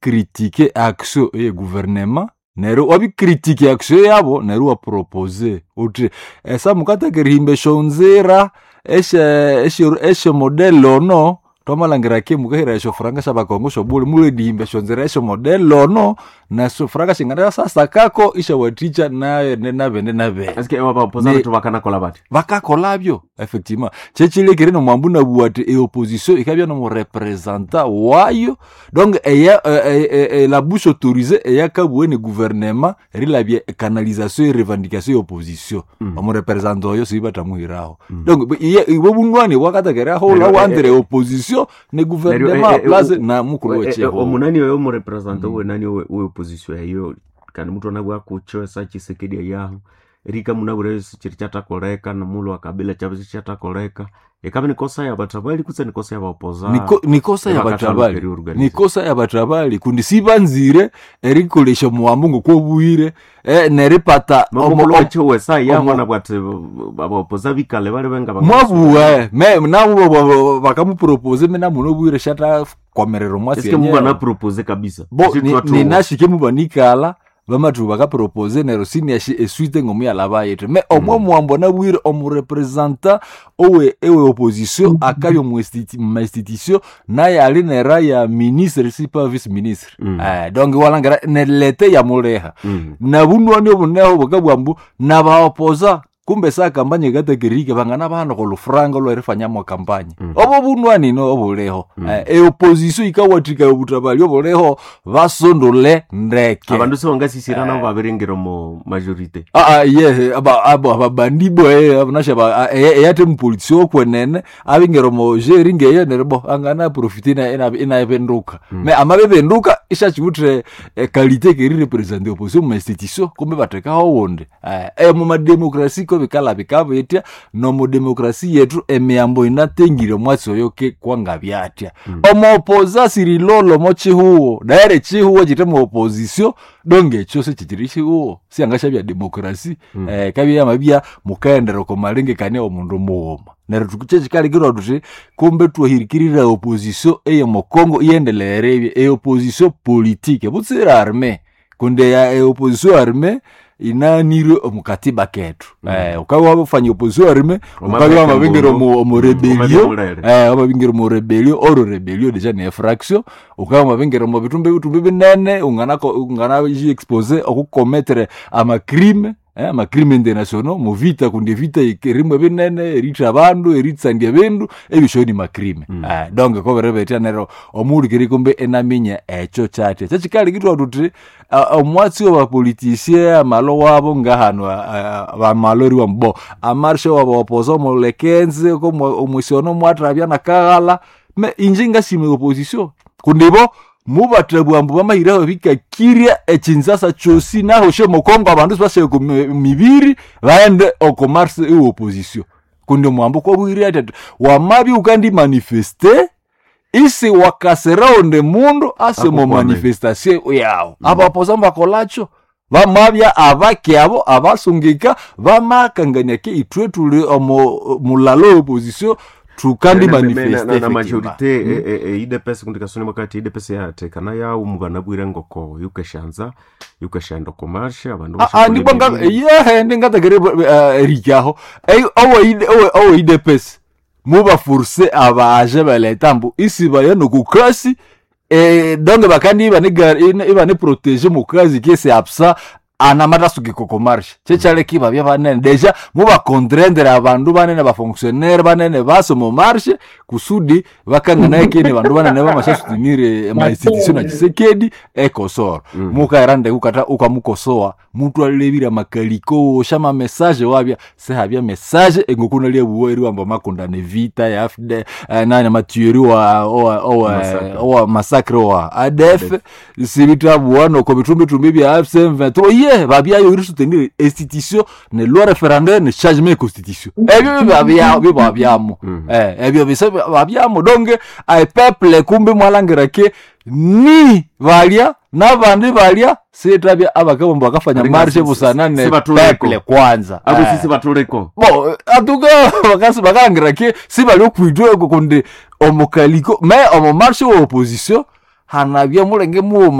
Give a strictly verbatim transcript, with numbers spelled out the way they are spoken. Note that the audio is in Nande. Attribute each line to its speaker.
Speaker 1: critiquer action eye gouvernement neryo wabi critique action yabo, neryo wa propose uthi esa mukataka erihimba esyonzira esye modèle ono, twamalhangira ke mukahira esyofuranga syabakongo syobule, muledihimba esyonzira esyo modèle ono, nesyofuranga singanasasakako isyawathikya nabene nabene nabene.
Speaker 2: Eske abapoza
Speaker 1: Ne-
Speaker 2: bethu bakanakola bati?
Speaker 1: Bakakolabyo effectivement. Kyekilekere nomwambu nabuwa ati eopposition ikabya nomurepresentant wayo, donc eya e, e, e, la bouche autorisée eyakabuwe ne gouvernement erilabya canalisation e revendication ya opposition,
Speaker 2: Mm.
Speaker 1: omurepresentant oyo siibatamuhiraho.
Speaker 2: Mm.
Speaker 1: Donc iye- ibwo bunwani bwakatekerahula
Speaker 2: Neryo, eh,
Speaker 1: wandire
Speaker 2: eh,
Speaker 1: opposition ne
Speaker 2: Neryo,
Speaker 1: gouvernement
Speaker 2: eh, eh,
Speaker 1: place
Speaker 2: o-
Speaker 1: na mukulu
Speaker 2: Eh, eh,
Speaker 1: wechiho.
Speaker 2: omunani oyo omurepresenta
Speaker 1: Mm.
Speaker 2: wenani we we opposition eyo, kandi mutu anabwa kucho esa Chisekedi ayaho erika munabure chiri kyatakoleka nomulhu wa Kabila kyabisi kyatakoleka, ikabe nikosa yabatabali kutse nikosa yabaopoza?
Speaker 1: Niko- nikosa yabatabali, nikosa yabatabali, kundi sibanzire erikolesha omuwambu ngokwobuhire eh, neripata omo-
Speaker 2: mukulu wecho wesa yaho
Speaker 1: omo-
Speaker 2: anabwa ati abaopoza bikale bali benga
Speaker 1: mwabuwe me nabo bakamupropose me namuno bwire shata komerera omwasi
Speaker 2: eske
Speaker 1: yenyewe.
Speaker 2: mubana propose kabisa?
Speaker 1: Bo
Speaker 2: Esi
Speaker 1: ni-
Speaker 2: twathuwa.
Speaker 1: ninashike mubanikala bamathu bakapropose, neryo siniashi esuite ngomuyalaba yithe me omwe
Speaker 2: Mm.
Speaker 1: muwambo nabwire omurepresentant owe ewe opposition akabya omu institu- mu institution, naye ali nera ya ministre si pa vice ministre.
Speaker 2: Mm.
Speaker 1: Eh, donc walangira nelete yamuleha
Speaker 2: Mm.
Speaker 1: nabunwani obuneho bukabwambu nabaopoza kumbe sa kampanye katakirike bangana bana kolufranga olwerifanyamo kampanye.
Speaker 2: Mm.
Speaker 1: Obo bunwani no obuleho.
Speaker 2: Mm.
Speaker 1: Eh, eopposition ikawathika obutabali obuleho basondole ndeke.
Speaker 2: Abandu sibangasisira nabo babiringira omu majorité.
Speaker 1: Ah, ah, ye aba abo ababandi bo eh, abunasha ba eyate mupolitisi okwenene abingera mo jeri ngeyo neryo bo angana profite ina ina inabenduka.
Speaker 2: Mm.
Speaker 1: Me amabebenduka ishachiwuthe eh, qualité keri represent opposition mu institution kumbe batekaho wundi eh, eh, mu mademokrasi ko bikala bikabetya no mu demokrasi yetu emiyambo inatengire omwatsi oyo ke kwanga byatya.
Speaker 2: Mm.
Speaker 1: Omuopoza sirilolo mo chihuwo daire chihuwo chite mu opposition, donge ekyo sichichiri chihuwo siangasha bya demokrasi.
Speaker 2: Mm.
Speaker 1: eh, kabya mabya mukaendera komalengekania omundu mughuma, neryo tukukyekikalikirwa tuthi kumbe twahirikirira opposition eye mukongo iyendelere ebye eopposition politique butsira arme, kundi ya eopposition arme inanirwe omukatiba kethu.
Speaker 2: Mm.
Speaker 1: eh, ukabya wabafanya opposition arme ukabya
Speaker 2: Omabeke
Speaker 1: wamabingira
Speaker 2: mbundu.
Speaker 1: omu
Speaker 2: Mm,
Speaker 1: rebellion.
Speaker 2: omabemulere.
Speaker 1: eh, wamabingira omu rebellion, oro rebellion deja ne fraction, ukabya wamabingira omu bitumbi bitumbi binene ungana ungana expose okukometere amacrime eh, amacrime international muvita, kundi evita erimwe binene eritha abandu eritsandya ebindu ebisho ni macrime.
Speaker 2: Mm.
Speaker 1: eh, donc koberebetya neryo omuhulikiri kumbe enaminya ekyo kyatya kyekikalikitwa tuthi ah, omwatsi wabapolitisie amalo wabo ngahano bamalo eriwa mbo amarshe wabaopoza omulekenzi omwisiono mwathabya nakaghala me inje ngasima opposition kundi bo mubathabwa mbu bamahiraho bikakirya ekinzasa kyosi naho shemukongo abandu sibashaya ku mi- mibiri baghende oko marse ewe opposition, kundi omwambo kwabwire ati ati wamabya ukandi manifeste isi wakasirawo ndi mundu ase mu
Speaker 2: Akukwame.
Speaker 1: manifestation yawo. Abapoza mbakolacho bamabya abaki abo abasungika bamakangania ke ithwe tuli omu mulalo opposition tukandi
Speaker 2: Na- na-
Speaker 1: manifeste
Speaker 2: na- na
Speaker 1: effectivement.
Speaker 2: majorité idepesi kundi kasoni wakati idepesi yathekana yawu mubanabwire ngoko yukeshanza yukeshanda okomarsha abandu
Speaker 1: Ah, ah, ndibwa yehe ndingatakere erikyaho owe idepesi mubaforce abaje baleta mbu isibaya nokukasi eh, donc bakandi ibane protege mukazi kese absa anamatasuki kokomarshe chekyaleka ibabya banene deja mubakontrendere abandu banene bafonctionnaire banene base mumarshe kusudi bakanganaye kene bandu banene bamashasutinire mainstitution na Chisekedi ekosoro.
Speaker 2: Mm.
Speaker 1: Mukaera ndeke ukata ukamukosoa mutu alebira makaliko shama message wabya sehabya message engokuna lyabuwa eriwamba makondane vita ya A F D eh, nani matueri wa owa owa
Speaker 2: Massacre.
Speaker 1: owa massacre wa A D F sibitabuwa noko bitumbitumbi bya A F C M vingt-trois ye babyayo iri soutenir institution ne loi référendaire ne changement constitution ebyo bibabya bibabyamo.
Speaker 2: Mm.
Speaker 1: eh ebyo bise babyamo donc ai peuple kumbe mwalangira ke ni balya nabandi balya sitabya abakabombo bakafanya
Speaker 2: Alinga
Speaker 1: marshe
Speaker 2: si- si-
Speaker 1: busana ne
Speaker 2: si batuleko.
Speaker 1: peuple kwanza.
Speaker 2: Abo
Speaker 1: Eh.
Speaker 2: sisi batuleko.
Speaker 1: Bon atuka bakasi bakalangira ke sibali okwitwa eko kundi omukaliko me omumarshe wa opposition Hanabya mulenge mughuma.